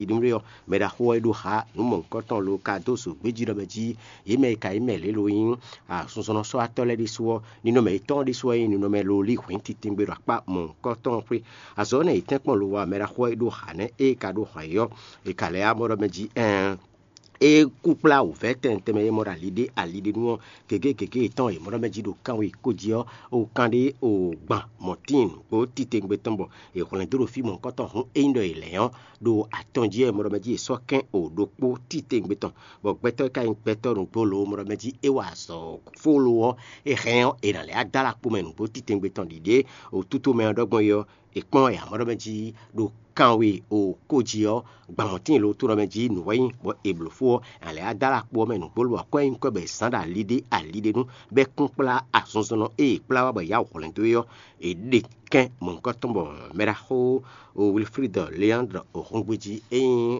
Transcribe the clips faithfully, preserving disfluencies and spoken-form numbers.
Iɖúmɖé ɔ́, mɛ ɖaxó ɔ́ e ɖó xa nǔ mɔ̌hunkɔtɔn lo ka dó zǒgbéjínɔmɛ jí. Yě mɛ e ka nyí mɛ lě lo nyí asunzɔnnɔsɔ́watɔ́ lɛ́ɛ ɖésú ɔ́, ninɔmɛ yětɔn ɔ́ ɖésú wɛ nyí ninɔmɛ lo lí hwǐn titewungbe ɖo akpá mɔ̌hunkɔtɔn ɔ́ xwé. Azɔ̌ énɛ́ yě tɛ́nkpɔ́n lo wa mɛ ɖaxó ɔ́ e ɖó xa nɛ́ ée ka ɖó hɔn yě ɔ́, è ka lɛ́ yá mɔ ɖɔ mɛ jí ɛɛn. É kú kplá wǔvɛ́ tɛnmɛ tɛnmɛ e mɔ ɖo ali ɖé ali ɖé nu ɔ́, gěgé gěgé yětɔn e mɔ ɖɔ mɛ jí ɖo kanwe kó jí ɔ́, o kan ɖé o gban mɔ̌tín nǔgbó titewungbe tɔn bɔ è hwlɛ̌n dó ɖo fí mɔ̌hunkɔtɔn hǔn ényí ɖɔ è lɛ̌n ɔ́, ɖo atɔn jí wɛ mɔ ɖɔ mɛ jí è sɔ́ kɛ́n o ɖokpó titewungbe tɔn, bɔ gbɛtɔ́ e ka nyí gbɛtɔ́ nǔgbó lo mɔ ɖɔ mɛ jí é wa azɔ̌ fólo ɔ́, é hɛn ɔ́, è nǎ lɛ́ wá dó alɔ kpo mɛ nǔgbó titewungbe tɔn ɖiɖe o tútomɛ ɔ́ ɖɔ gbɔn é ɔ́, è kpɔ́n ya mɔ ɖɔ mɛ jí ɖo kanwe o kó jí ɔ́, gban mɔ̌tín lo tó ɖɔ mɛ jí nǔ wɛ nyí bɔ è blǒ fó ɔ́, a lɛ́ wá dó alɔ kpo ɔ́ mɛ nǔgbó lo bɔ akwɛ́ nyí kɔ́ bɔ è zǎn ɖo ali ɖé ali ɖé nu, bɔ é kún kplá azinzɔnnɔ e è kplá wá bɔ è yá wǔ hwlɛ́n dó é ɔ́, è ɖe kɛ́n mɔ̌hunkɔtɔn bɔ mɛɖaxó Wilfrid Leandre Ohɔngbéjí e nyí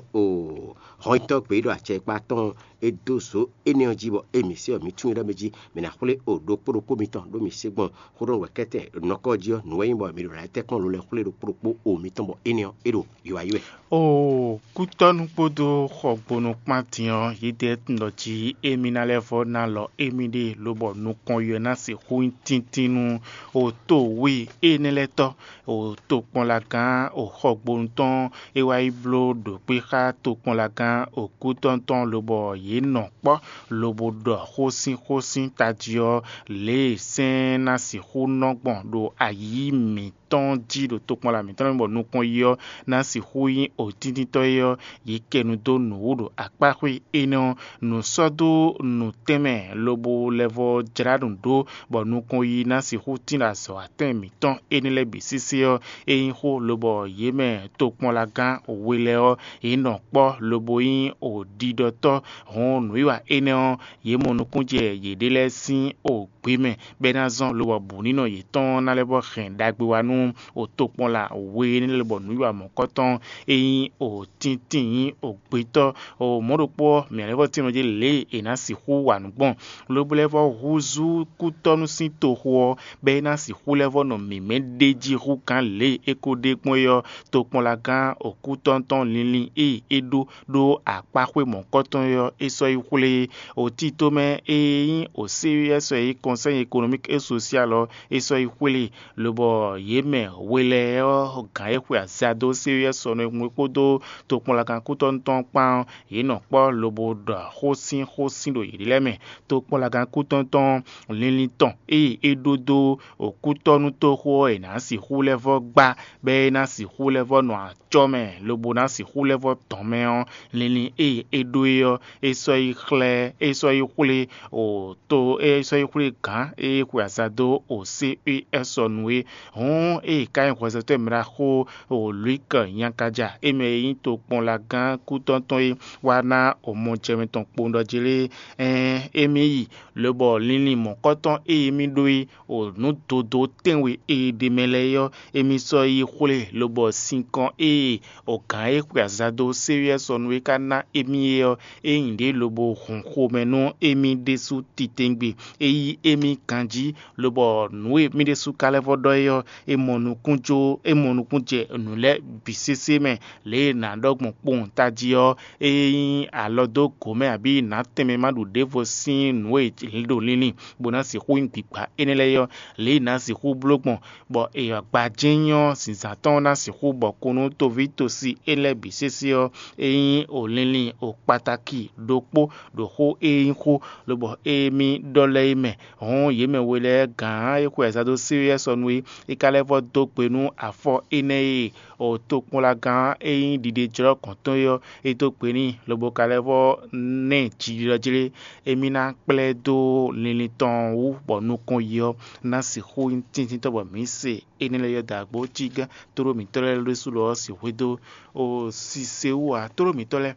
hɔnyitɔ́ gbeyíɖɔ acɛkpá tɔn é dó zǒ énɛ́ ɔ́ jí bɔ émí se ɔ́, mǐ tunwun ɖɔ mɛ jí mǐ ná xwlé o ɖokpó ɖokpó mitɔn ɖó mǐ se gbɔn xó ɖɔ nǔ wɛ kɛ́tɛn nɔkɔ jí ɔ́, nǔ wɛ nyí bɔ mǐ ɖo ná tɛ́nkpɔ́n lo lɛ́ɛ xwlé ɖokpó ɖokpó o mitɔn bɔ énɛ́ ɔ́ é ɖo yiyi wɛ yi wɛ. Oo, kútɔ́nú kpódó xɔgbónú kpán din ɔ́, yědɛɛ tunwun ɖɔ jí émí ná lɛ́ vɔ́ ná lɔ émí ɖée lobɔ nukɔn yɔ ná sixú nyí tíntín nú o to wí énɛ́ lɛ́ɛ tɔ́, o tokpɔnlagán o xɔgbónú tɔn e wá yi bló ɖo kpé xá tokpɔnlagán o kútɔ́nú tɔn lobɔ yě nɔ kpɔ́ lobo ɖɔ xósínxósín tají ɔ́, lě e sɛ́n ná sixú nɔ gbɔn ɖo ayǐ mǐtɔn jí ɖo tokpɔnla mǐtɔn lɛ́ɛ mɛ bɔ nukɔn yi ɔ́ ná sixú nyí otíntíntɔ́ é ɔ́, yě kɛ nu dó nǔwú ɖo akpáxwé énɛ́ ɔ́, nǔ sɔ́ dó nǔtɛnmɛ lobo lɛ́ vɔ́ jlá nǔ ɖó bɔ nukɔn yi ná sixú tín ɖo azɔ̌watɛn mǐtɔn énɛ́ lɛ́ɛ bǐ sésé ɔ́, é nyí xó lobɔ yě mɛ tokpɔnlagán we lɛ́ɛ ɔ́, yě nɔ kpɔ́ lobo nyí oɖiɖɔtɔ́. Hɔn nǔwiwa énɛ́ ɔ́, yě mɔ nukúnnú jɛ yěɖée lɛ́ɛ sín o gbě mɛ, bɔ é ná zɔ́n lobɔ bǔnínɔ yětɔn ná lɛ́ vɔ́ hɛn ɖagbe wá nú o tokpɔnla we énɛ́ lɛ́ɛ bɔ nǔwiwa mɔ̌kɔtɔn e nyí o tíntín nyí o gbetɔ́ o mɔ̌ ɖokpó ɔ́, mǐ lɛ́ vɔ́ tínmɛ jí lě e è nǎ sixú wa nǔ gbɔn, lobo lɛ́ vɔ́ húzú kútɔ́nú sín toxo ɔ́, bɔ é ná sixú lɛ́ vɔ́ nɔ mǐmɛ́ ɖ'é jí hú gǎn lě e é ko ɖe gbɔn é ɔ́, tokpɔnlagán okútɔ́ntɔn linlin e é ɖó ɖó akpáxwé mɔ̌kɔtɔn é ɔ́, é sɔ́ yi xwlé. Otítomɛ e nyí o C E S ɔ́ e nyí Conseil économique et social ɔ́, é sɔ́ yi xwlé, lobɔ yě mɛ we lɛ́ɛ ɔ́, gǎn e xwe aza dó C E S ɔ́ nɔ e hun é kpódó tokpɔnlagán kútɔ́nú tɔn kpán ɔ́, yě nɔ kpɔ́ lobo ɖɔ xósínxósín ɖo yěɖée lɛ́ɛ mɛ. Tokpɔnlagán kútɔ́nú tɔn linlin tɔn e é ɖó dó okútɔ́nútoxo ɔ́, è nǎ sixú lɛ́ vɔ́ gbá, bɔ é ná sixú lɛ́ vɔ́ nɔ acɔ́ mɛ, lobo ná sixú lɛ́ vɔ́ dɔn mɛ ɔ́, linlin e é ɖó é ɔ́, é sɔ́ yi xlɛ́, é sɔ́ yi xwlé o to é sɔ́ yi xwlé gǎn e é xwe aza dó o C E S ɔ́ nu é. Hǔn ée ka nyí hwɛzɔ́tɔ́ e mɛ ɖaxó o Luík Nyankaja e mɛ e nyí tokpɔnlagán kútɔ́ntɔn é wá ná o mɔjɛmɛ tɔn kpowun ɖɔ jlé, ɛɛn, émí yi, lobɔ linlin mɔ̌kɔtɔn e émí ɖó é o nǔ dodó tɛ́nwe e ɖ'é mɛ lɛ́ɛ é ɔ́, émí sɔ́ yi xwlé, lobɔ sinkɔn e o gǎn e xwe aza dó séwíɛ́ sɔ nú é ka ná émí é ɔ́, é nyi ɖě lobo hun xomɛ nú émí ɖésú titewungbe. É yí émí ganjí, lobɔ nǔ e mì ɖésú ka lɛ́ vɔ́ ɖɔ é ɔ́, é mɔ nukún jó, é mɔ nukún jɛ nǔ lɛ́ɛ bǐ sésé mɛ, lě e è nǎ ɖɔ gbɔn kpowun tají ɔ́, ée nyí alɔ dó gǒ mɛ abǐ nǎ tɛnmɛ ma ɖu ɖěvo sín nǔ e è ɖo linlin bó ná sixú nyí gbǐgbá énɛ́ lɛ́ɛ é ɔ́, lě e è nǎ sixú bló gbɔn, bɔ è gbajɛ́n nyí ɔ́, zǐnzán tɔn ná sixú bɔ kún nú toví tosi énɛ́ lɛ́ɛ bǐ sésé ɔ́, é nyí o linlin o kpatáki ɖokpó ɖo xó e nyí xó lobɔ émí ɖɔ lɛ́ɛ é mɛ. Hɔn yě mɛ we lɛ́ɛ gǎn e xwe azǎn dó séwéyɛ́ sɔ nú é, é ka lɛ́ vɔ́ dó gbe nú afɔ énɛ́ e o tokpɔnlagán e nyí ɖiɖejlɔ́ gɔ̌n tɔn é ɔ́, é dó gbe n'i, lobo ka lɛ́ vɔ́ ná ɛ jiɖiɖɔ jlé. Émí ná kplá ɛ dó linlin tɔn wú, bɔ nukɔn yi ɔ́ ná sixú nyí tíntíntɔ́ bɔ mǐ se énɛ́ lɛ́ɛ yɔ́ dó agbǒ cí gán tlóló mǐtɔn lɛ́ɛ ɖésú lɔ ɔ́ sixú dó o sise wú ǎ. Tlóló mǐtɔn lɛ́ɛ,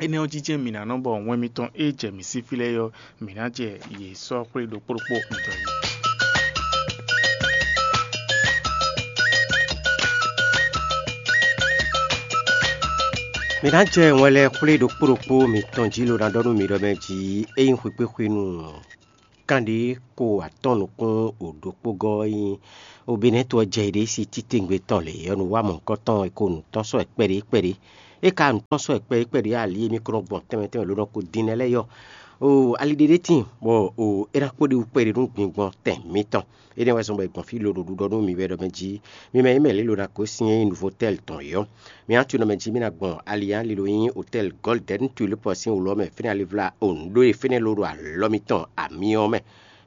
énɛ́ ɔ́ jínjɛ́n mǐ ná nɔ bɔ wɛn mitɔn e jɛ mǐ sí fí lɛ́ɛ ɔ́, mǐ ná jɛ yě sɔ́ xwlé ɖokpó ɖokpó mitɔn yi. Mǐ ná jɛ wɛn lɛ́ɛ xwlé ɖokpó ɖokpó mitɔn jí lo ná ɖɔ nú mi ɖɔ mɛ jí é nyí xwekpé xwenu kanɖé ko atɔ́n nukún o ɖokpó gɔ́ ɔ́ nyí Obinɛ́to ɔ́ jɛ iɖée sí títewungbe tɔn lě ɔ́ nu wá mɔ̌hunkɔtɔn e ko nǔ tɔ́n sɔ́ ɛ kpɛɖé kpɛɖé. É ka nǔ tɔn sɔ́ ɛkpɛ e kpɛɖé ali e mì kɔn nɔ gbɔn tɛnmɛ tɛnmɛ lǒ nɔ ko din nɛ́ lɛ́ɛ yɔ. Oo, ali ɖé ɖé tíin bɔ oo é ná kpó ɖi wú kpɛɖé nú gbingbɔn tɛn mǐtɔn. Énɛ́ wɛ zɔn bɔ è gbɔn fí lo ɖo ɖuɖɔ nú mi wɛ ɖɔ mɛ jí. Mi mɛ nyí mɛ lě lo ná gosín e nyí Nuvotɛ́l tɔn yɔ́. Mi ná tunɔ mɛ jí mì ná gbɔn ali e lilo nyí Hotɛ́l Gɔ́ldɛn Tulíp ɔ́ sín wǔlɔ mɛ fínɛ́ ali vla o nǔ ɖó e fínɛ́ ló ɖo alɔ mitɔn amyɔ ɔ́ mɛ.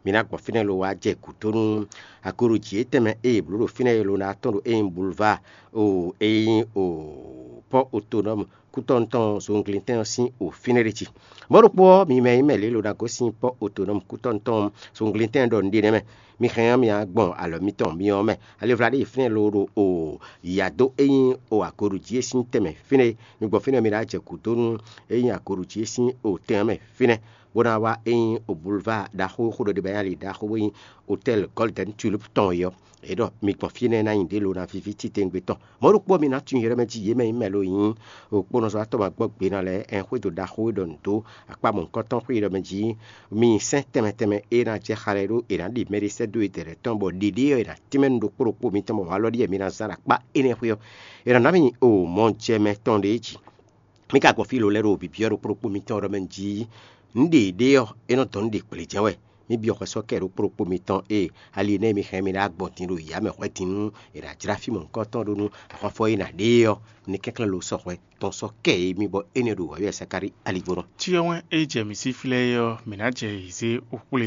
Mi ná gbɔn fínɛ́ lo wá jɛ gǔdo nú agoɖují e tɛnmɛ e è blǒ ɖo fínɛ́ e lo ná tɔn ɖo é nyí bulvá o e nyí o pɔ́ otonɔ́mu kútɔ́nu tɔn zunglintɛn ɔ́ sín o fínɛ́ ɖé jí. Mɔ̌ ɖokpó ɔ́, mi mɛ e nyí mɛ lě lo ná gosín pɔ́ otonɔ́mu kútɔ́nu tɔn zunglintɛn ɖɔ nǔɖé nɛ́ mɛ. Mi hɛn ɔ́, mi ná gbɔn alɔ mitɔn myɔ ɔ́ mɛ. Alivla ɖé yi fínɛ́ lo ɖo o yǎ dó e nyí o agoɖují e sín tɛnmɛ fínɛ́. Mi gbɔn fínɛ́ mi ná jɛ gǔdo nú e nyí agoɖují e sín o tɛn ɔ́ mɛ fínɛ́, bó ná wá e nyí o bulvá ɖaxó xó ɖɔ ɖe bɔ é nyí ali ɖaxó bó nyí Hotɛ́l Gɔ́ldɛn Tulíp tɔn é ɔ́. É ɖɔ mi gbɔn fínɛ́ ná nyi ɖě lo ná víví titewungbe tɔn. Mɔ̌ ɖokpó ɔ́, mi ná tunwun Yerɛ́mɛ jí yě mɛ nyí mɛ lo nyí ɖokpónɔzɔ́watɔ́ ma gbɔ gbe ná lɛ́ɛ ɛn xwédo ɖaxó e ɖɔ nǔ dó akpá mɔ̌hunkɔtɔn xwé ɖɔ mɛ jí mi sɛ́n tɛnmɛ tɛnmɛ e ná jɛ xa lɛ́ɛ ɖó è nǎ ɖi mɛɖé sɛ́ dó e dɛ̌ lɛ́ɛ tɔn bɔ ɖiɖée ɔ́ è nǎ tɛ́nmɛ nú ɖokpó ɖokpó mitɔn bɔ walɔ ɖíe mi ná zán ɖo akpá énɛ́ xwé ɔ́, è nǎ ná mi nyi o mɔjɛmɛ tɔn ɖě jí. Mi ka gbɔn fí lo lɛ́ɛ ɖo bǐbyɔ́ ɖokpó ɖokpó mitɔn ɖɔ mɛ jí nǔɖé ɖé ɔ́, é nɔ dɔn nú ɖe kplé jɛ́n wɛ. Mi byɔ́ xwɛ sɔ́ kɛ ɖokpó ɖokpó mitɔn e ali énɛ́ e mi hɛn mi ɖó agbɔn din ɖo yǎ mɛ hwɛ din nú è nǎ jlá fí mɔ̌hunkɔtɔn ɖó nú axɔ́fɔ e nǎ ɖe é ɔ́, ní kɛnklɛ́n lo sɔ hwɛ tɔn sɔ́ kɛ e mi bɔ énɛ́ ɖo wǎyú Sakalíi aligbónɔ. Cyɔ wɛn e jɛ mǐ sí flɛ́ é ɔ́, mǐ ná jɛ yě zé wú kplé.